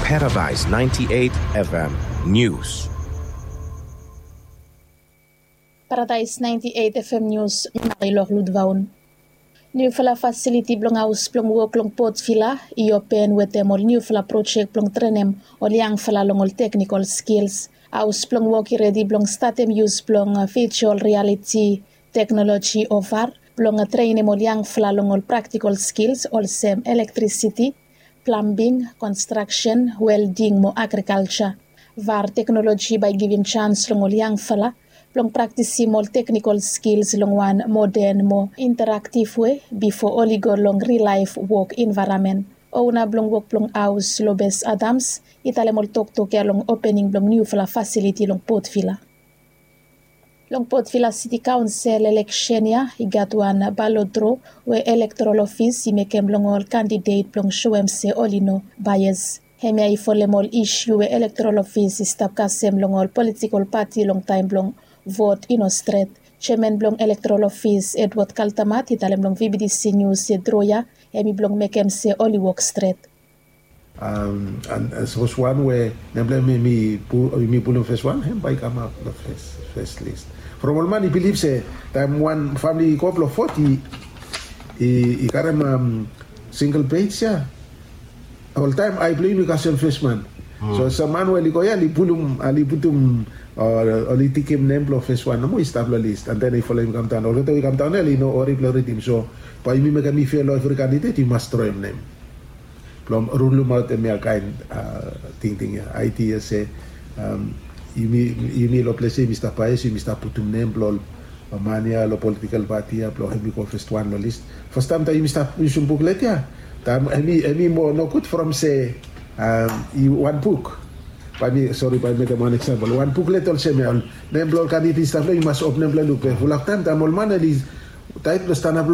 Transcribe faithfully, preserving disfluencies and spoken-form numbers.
Paradise ninety-eight F M News. Paradise ninety-eight F M News, mi Marilok Ludvaun. Niufala fasiliti blong haos blong wok long Port Vila i open wetem ol niufala projek blong trenem ol yangfala long ol teknikol skils. Haos blong wok i redi blong statem yus blong, uh, virtual reality teknoloji o var blong, uh, trenem ol yangfala long ol praktikol skils olsem elektrisiti, plambing, konstraksen, welding mo agrikalja. Var teknoloji bae i givim jans long ol yangfala blong praktisim ol teknikol skils long wan moden mo interaktiv wei bifo oli go long ril laef wok envaeramen. Ona blong wok blong haos Lobes Adams i talem ol toktok ya long opening blong niufala fasiliti long Port Vila. Long Port Vila Siti Kaonsel eleksen ya i gat wan balot dro we elektorol ofis i mekem long ol kandidet blong soem se oli no baes. Hemia i folem ol isiu we elektorol ofis i stap kasem long ol politikol pati long taem blong vot i no stret. Jeaman blong elektorol ofis Edward Kaltamat i talem long V B T C Nius se dro ya hemi blong mekem se oli wok stret. Sapos wan we nem blong hem i pulum fes wan, hem bae i kamap long fes lis. From ol man i bilif se taem wan famili i go blong vot i karem singel pej ya, oltaem ae blong yumi i kasem fes man. So sam man we oli go ya oli pulum, oli putum, oli tikim nem blong fes wan nomo i stap long lis, an den i folem i kamdaon. Olgeta we i kamdaon ya oli no wari blong ridim. So bae yumi mekem i fea long evri kandidet i mas droem nem blong rulumaot hemia kaen tingting ya, aidia se yumi long ples ya yumi stap baes, yumi stap putum nem blong ol man ya long politikol pati ya blong hemi go fes wan long lis. Fastaem taem yumi stap yusum buklet ya, taem hemi moa nogud from se wan buk, bae mi sori bae mi mekem wan eksampol, wan buklet olsem ya, nem blong ol kandidet i stap long hem i mas op nem blong hem luk. Be fulap taem taem ol man oli taet blong stanap